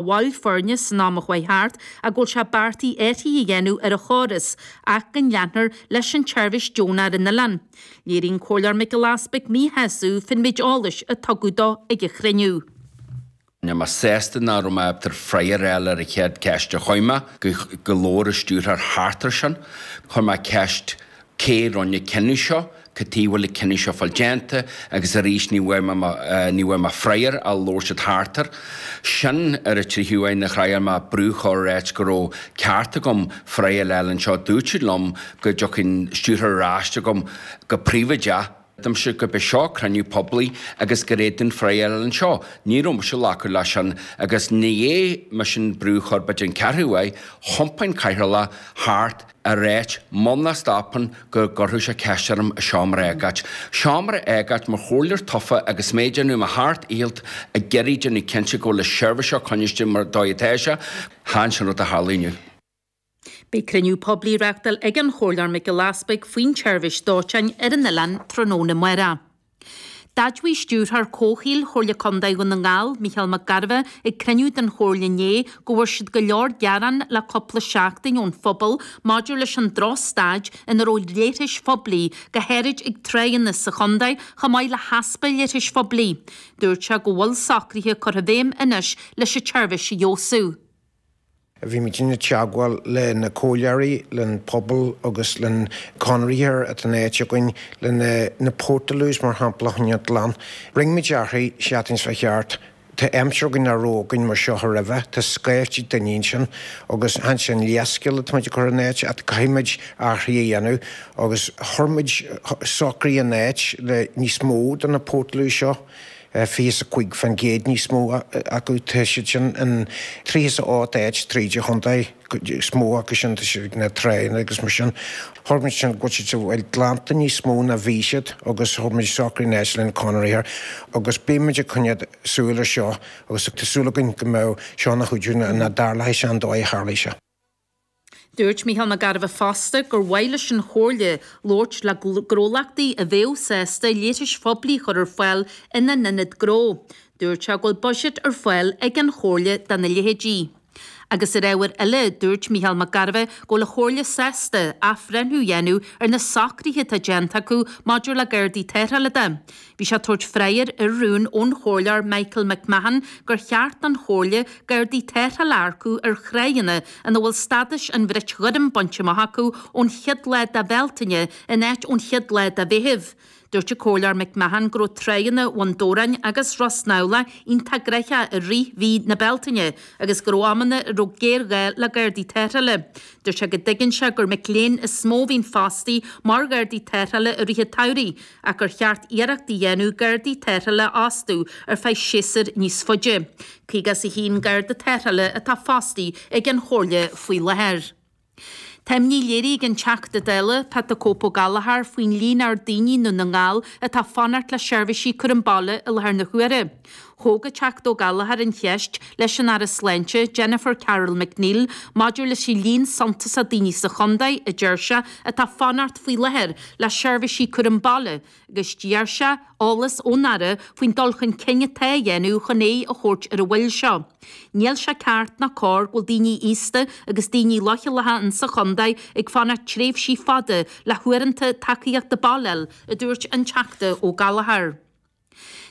Bhaill foirne san am a chuaigh thart ach go bhfuil sé beartaithe athruithe a dhéanamh ar an chóras ach go leanfar leis an tseirbhís deonach ar an oileán. Léirigh an Comhairleoir Mac Giolla Easpaig míshásamh fán méid eolais a tugadh dó ag an chruinniú. Níl mé sásta nach raibh mé ábalta freagra a fháil ar an chéad ceist a chuir mé, go labhair an stiúrthóir thart ar sin. Chuir mé ceist Cé rinne an cinneadh seo? Cad chuige a bhfuil an cinneadh seo fáil déanta? Agus arís ní bhfuair mé ní bhfuair mé freagra ach labhair siad thart air. Sin ar an tríú uair nuair a thriail mé brú a chur ar áit go raibh ceart agam freagra a fháil anseo. Dúirt siad liom go dtiocfaidh an stiúrthóir ar ais chugam go príobháideach. Dúirt gurb é seo cruinniú poiblí agus gur fhéadfainn freagra a fháil anseo. Ní raibh mise ag glacadh leis sin agus i ndiaidh mise an brú a chur b'fhéidir an ceathrú uair, thiompaigh an cathaoirleach thart a ráit muna stopann go gcuirfeadh sé ceist orm i seomra agóid. Seomra agóid mar chomhairleoir tofa agus mé ag déanamh mo sheacht ndícheall ag iarraidh déanamh cinnte go bhfuil an seirbhís seo coinniste mar dóigh atá sé. Chan sin rud a tharla inniu. Beidh cruinniú poiblí á reáchtáil ag an Chomhairleoir Mac Giolla Easpaig faoin tseirbhís dóiteáin ar an oileán tráthnóna amárach. D'admhaigh Stiúrthóir Comhshaoil Chomhairle Contae Dhún na nGall, Micheál Mac Gairbheith, ag cruinniú den Chomhairle inné go bhfuair siad go leor gearán le cúpla seachtain ón phobal maidir leis an drochstaid ina raibh leithris phoiblí, go háirid ag tráigheanna sa chontae, chomh maith le heaspa leithris phoiblí. Dúirt sé go bhfuil socruithe curtha i bhfeidhm anois leis an tseirbhís a fheabhsú. Bhí muidinne ag teagmháil le na comhairleoirí, len pobal agus len conraitheoir atá in áit againn le na portaloos mar shampla a choinneáil glan. Rinne muid athruithe seachtain seo thart. Tá aimsir againn nach raibh againn mar seo roimhe. Tá scaifte daoine ansin agus chan sin leithscéal atá muid ag cur in áit ach caithfidh muid athruithe a dhéanamh agus chuir muid socruithe in áit le níos mó de na portaloos seo. 25% níos mó acu. Tá siad sin in 38 áit tríd an chontae, is mó acu sin tá siad ag na tráigheanna agus mar sin. Chuir muid sin go bhfuil siad sa bhfuil glanta níos mó ná bhí siad agus chuir muid socruithe in áit lena conraitheoir agus beidh muid ag coinneáil súil ar seo agus tá súil againn go mbeadh seo ina chuidiú nach dtarlóidh sé an dóigh a tharlaigh sé. Dúirt Micheál Mac Gairbheith fosta gur mhaith leis an Chomhairle labhairt le gnólachtaí a bheadh sásta leithris phoiblí a chur ar fáil ina n-ionad gnó. Dúirt sé go bhfuil buiséad ar fáil ag an Chomhairle dona leithéidí. Agus ar ábhar eile, dúirt Micheál Mac Gairbheith go bhfuil an Chomhairle sásta athbhreithniú a dhéanamh ar na socruithe atá déanta acu maidir le Gardaí Tarrthála de. Bhí sé ag tabhairt freagair ar rún ón Chomhairleoir Michael McMahon gur cheart don Chomhairle Gardaí Tarrthála a earcú ar thráigheanna ina bhfuil stádas an bhrait ghoirm bainte amach acu ón chéad lá de Bhealtaine in áit ón chéad lá de Mheitheamh. Dúirt an Comhairleoir McMahon go raibh tráigheanna Bhun Dobhráin agus Ros nAbhla iontach gnoitheach i rith mhí na Bealtaine agus go raibh amanna a raibh géarghá le Gardaí Tarrthála. Dúirt sé go dtuigeann sé gur mic léinn is mó a bhíonn fostaithe mar Ghardaí Tarrthála i rith an tsamhraidh ach gur cheart iarracht a dhéanamh Gardaí Tarrthála a fhostú ar feadh séasúir níos faide. 51 Garda Tarrthála atá fostaithe ag an Chomhairle faoi láthair. Tá imní léirithe ag an Teachta Dála, Pat 'The Cope' Ó Gallchóir faoin líon ard daoine i nDún na nGall atá ag fanacht le seirbhísí cúram baile i láthair na huaire. Thóg an Teachta Ó Gallchóir an cheist leis an Aire Sláinte, Jennifer Carroll MacNeill, maidir leis an líon suntasach daoine sa chontae, a deir sé, atá ag fanacht faoi láthair le seirbhísí cúram baile agus d'iarr sé eolas ón Aire faoin dul chun cinn atá á dhéanamh chun aghaidh a thabhairt ar an mhoill seo. Níl sé ceart ná cóir go bhfuil daoine aosta agus daoine leochaileacha insa chontae ag fanacht tréimhsí fada le huaireanta tacaíochta baile a fháil, a dúirt an Teachta Ó Gallchóir.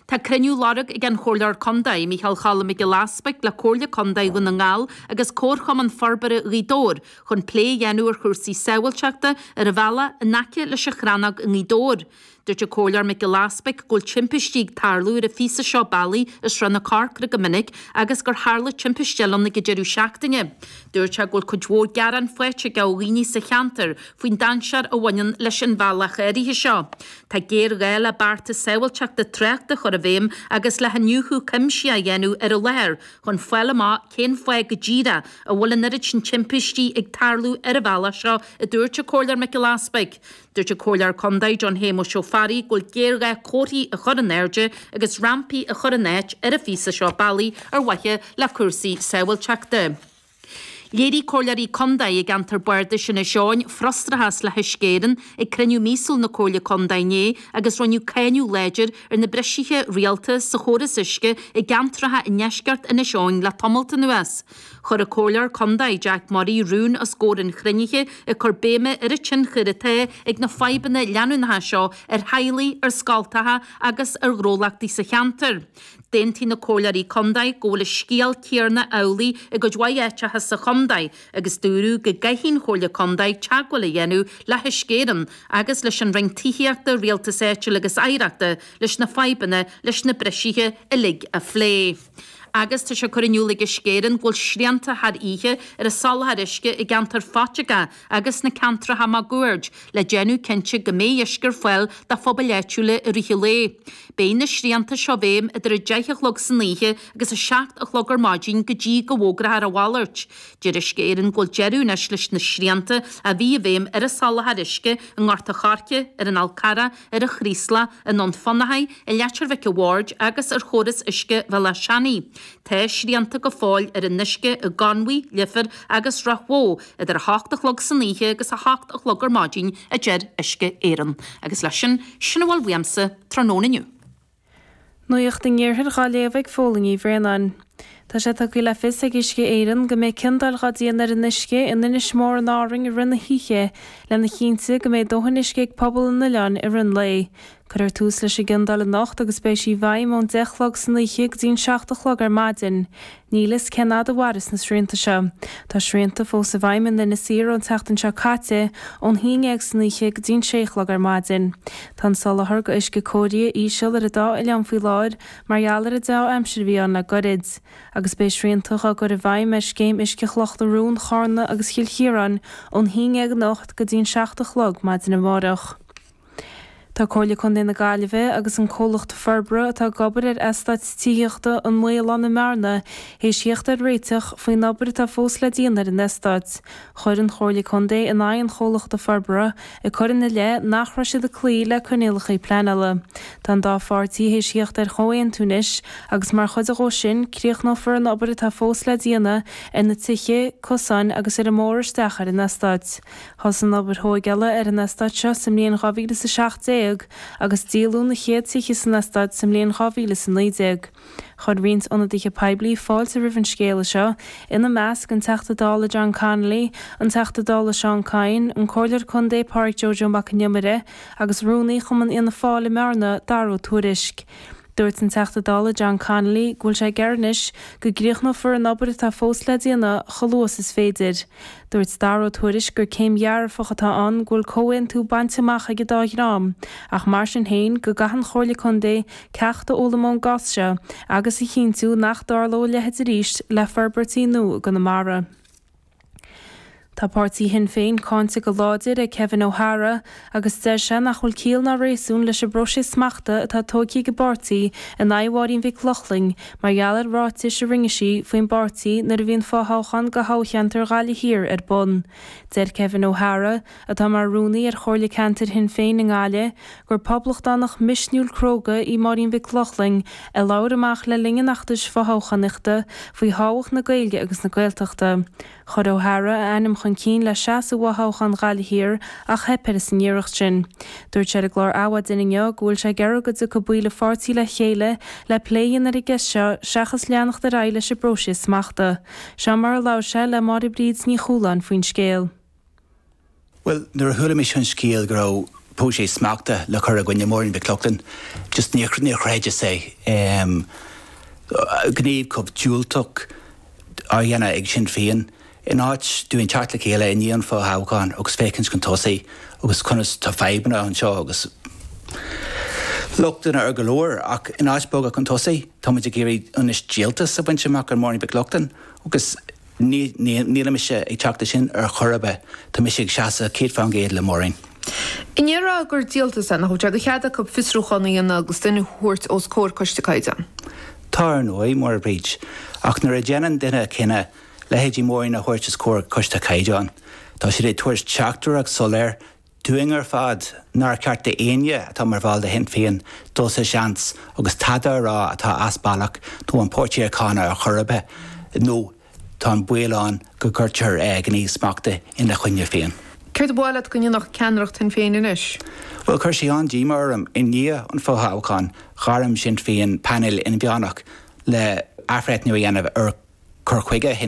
Tá cruinniú á lorg ag an Chomhairleoir Contae, Micheál Choilm Mac Giolla Easpaig le Comhairle Contae Dhún na nGall agus Comharchumann Forbartha Ghaoth Dobhair chun plé a dhéanamh ar chúrsaí sábháilteachta ar an bhealach in aice leis an Chrannóg i nGaoth Dobhair. Dúirt an Comhairleoir Mac Giolla Easpaig go bhfuil timpistí ag tarlú ar an phíosa seo bealaigh i Srath na Corcra go minic agus gur tharla timpiste eile ann ag an deireadh seachtaine. Dúirt sé go bhfuil cuid mhór gearán faighte aige ó dhaoine sa cheantar faoin dainséar a bhaineann leis an bhealach áirithe seo. Tá géarghá le bearta sábháilteachta tráchta a chur i bhfeidhm agus le hiniúchadh cuimsitheach a dhéanamh ar an láthair chun fáil amach cén fáth go díreach a bhfuil an oiread sin timpistí ag tarlú ar an bhealach seo, a dúirt an Comhairleoir Mac Giolla Easpaig. Dúirt an Comhairleoir Contae John Shéamuis Ó Fearraigh go bhfuil géarghá comharthaí a chur in airde agus rampaí a chur in áit ar an phíosa seo bealaigh ar mhaithe le cúrsaí sábháilteachta. Léirigh Comhairleoirí Contae i gceantar Bardais Inis Eoghain frustrachas le hUisce Éireann ag cruinniú míosúil na Comhairle Contae inné agus rinneadh cáineadh láidir ar na brisithe rialta sa chóras uisce i gceantracha i ndeisceart Inis Eoghain le tamalt anuas. Chuir an Comhairleoir Contae Jack Murray rún os comhair an chruinnithe ag cur béime ar an tionchar atá ag na fadhbanna leanúnacha seo ar theaghlaigh, ar scoltacha agus ar ghnólachtaí sa cheantar. D'aontaigh na Comhairleoirí Contae go bhfuil an scéal céarna amhlaidh i gcuid mhaith áiteacha sa chontae agus dúradh go gcaithfidh an Chomhairle Contae teagmháil a dhéanamh le hUisce Éireann agus leis an Roinn Tithíochta, Rialtais Áitiúil agus Oidhreachta leis na fadhbanna leis na brisithe uilig a phlé. Agus tá sé curtha in iúl ag Uisce Éireann go bhfuil srianta thar oíche ar an soláthar uisce i gceantar Phaiteagá agus sna ceantracha máguaird le déanamh cinnte go mbeidh uisce ar fáil do phobail áitiúla i rith an lae. Beidh na srianta seo i bhfeidhm idir 10 a chlog san oíche agus 7 a chlog ar maidin go dtí go bhfógrófar a mhalairt. Deir Uisce Éireann go bhfuil deireadh anois leis na srianta a bhí i bhfeidhm ar an soláthar uisce i nGort a' Choirce, ar an Fhál Carrach, ar an Chraoslach, i nDún Fionnachaidh, i Leitir Mhic a' Bhaird agus ar chóras uisce Bhealach Seanaidh. Tá srianta go fóill ar an uisce i gConmhaigh, Leifear agus Ráth Bhoth idir 8 a chlog san oíche agus 8 a chlog ar maidin, a deir Uisce Éireann. Agus leis sin, sin a bhfuil uaimse tráthnóna inniu. Nuacht an Iarthair dhá léamh ag Fódhla Ní Bhraonáin. Tá sé tugtha le fios ag Uisce Éireann go mbeidh ciondáil dhá déanamh ar an uisce in Inis Mór in Árainn i rith na hoíche lena chinntiú go mbeidh dóthain uisce ag pobal an oileáin i rith an lae. Cuirfear tús leis an gciondáil anocht agus beidh sí i bhfeidhm ón 10 a chlog san oíche go dtí an 7 a chlog ar maidin. Níl fhios cén fhad a mhairfeas na srianta seo. Tá srianta fós i bhfeidhm in Inis Oírr ón tseachtain seo caite, ón haon dhéag san oíche go dtí an sé a chlog ar maidin. Tá an soláthar go uisce cóirithe íseal ar an dá oileán faoi láthair mar gheall ar an deá-aimsir a bhí ann le goirid. Agus beidh srianta dhá gcur i bhfeidhm ar scéim uisce Chloch na Rón, Chárna agus Chill Chiaráin ón haon dhéag anocht go dtí an 7 a chlog maidin amárach. Tá Comhairle Contae na Gaillimhe agus an comhlacht forbartha atá ag obair ar eastát tithíochta An Maolán i mBearna théis theacht ar réiteach faoin obair atá fós le déanamh ar an eastát. Chuir an Chomhairle Contae in aghaidh an chomhlachta forbartha ag cur ina leith nach raibh siad ag cloí le coinníollacha pleanála. Tá an dá pháirtí théis theacht ar chomhaontú anois agus mar chuid dhó sin críochnófar an obair atá fós le déanamh ar na tithe, cosáin agus ar an mbóthar isteach ar an eastát. Thosaigh an obair thóigeála ar an eastát seo sa mbliain 2017 agus díoladh na chéad tithe san eastát sa mbliain 2019. Chuir roinnt ionadaithe poiblí fáilte roimh an scéala seo, ina measc an Teachta Dála John Connolly, an Teachta Dála Seán Kyne, an Comhairleoir Contae Pádraig Joe Joe Mac an Iomaire agus Rúnaí Chumann Fhianna Fáil i mBearna, Dara Ó Tuairisg. Dúirt an Teachta Dála John Connolly go bhfuil sé ag iarraidh anois go gcríochnófar an obair atá fós le déanamh chomh luath is is féidir. Dúirt Dara Ó Tuairisg gur céim dhearfach atá ann go bhfuil comhaontú bainte amach ag an dá dhream ach mar sin féin go gcaithfidh an Chomhairle Contae ceacht a fhoghlaim ón gcás seo agus a chinntiú nach dtarlóidh a leithéid arís le forbairtí nua i gConamara. Tá páirtí Shinn Féin cáinte go láidir ag Kevin O'Hara agus deir sé nach bhfuil ciall ná réasún leis an bpróiseas smachta atá tógtha ag an bpáirtí in aghaidh Mháirín Mhic Lochlainn mar gheall ar ráitis a rinne sí faoin bpáirtí nuair a bhí an fothoghchán do thoghcheantar Ghaillimh Thiar ar bun. Deir Kevin O'Hara, atá mar rúnaí ar Chomhairle Ceantair Shinn Féin i nGaillimh, gur poblachtánach misniúil cróga í Máirín Mhic Lochlainn a labhair amach le linn an fheachtais fothoghchánaíochta faoi thábhacht na Gaeilge agus na Gaeltachta. Chuir O'Hara a ainm chun cinn le seasamh i bhfothoghchán Ghaillimh Thiar ach theip air san iarracht sin. Dúirt sé ar an gclár Adhmhaidin inniu go bhfuil sé ag iarraidh go dtiocfaidh baill an pháirtí le chéile le plé a dhéanamh ar an gceist seo seachas leanacht ar aghaidh leis an bpróiseas smachta. Seo mar a labhair sé le Máire Bríd Ní Chualáin faoin scéal. Bhuel, nuair a chuala mise an scéal go raibh próiseas smachta le cur i gcoinne Máirín Mhic Lochlainn, just níor chreideas é. Gníomh chomh diúltach á dhéanamh ag Sinn Féin, in áit dúinn teacht le chéile i ndiaidh an fothoghcháin agus féachaint chun tosaigh agus conas tá fadhbanna anseo agus lochtanna ar go leor ach in áit bogadh chun tosaigh tá muid ag iarraidh anois díoltas a bhaint amach ar Máirín Mhic Lochlainn agus Níl mise ag teacht leis sin ar chor ar bith. Tá mise ag seasamh 100% le Máirín. An ndéarfá gur díoltas é, nach bhfuil sé de chead acu fiosrúchán a dhéanamh agus duine a thabhairt os comhair Coiste Caighdeán? Tá ar ndóigh, Máire Bríd. Ach nuair a dhéanann duine cinneadh leithéidí Máirín a thabhairt os comhair Coiste Caighdeán, tá siad ag tabhairt teachtaireacht soiléir dúinn ar fad nár cheart d'éinne atá mar bhall de Shinn Féin dul sa seans agus tada a rá atá as bealach nó an páirtí a cháineadh ar chor ar bith nó. Tá an baol ann go gcuirtear gníomh smachta ina choinne féin. Céard ba mhaith leat go ndéanfadh ceannaireacht Shinn Féin anois? Bhuel, chuir sé an-díomá orm. I ndiaidh an fothoghcháin, ghairm Sinn Féin painéal inmheánach le athbhreithniú a dhéanamh ar chur chuige Shinn.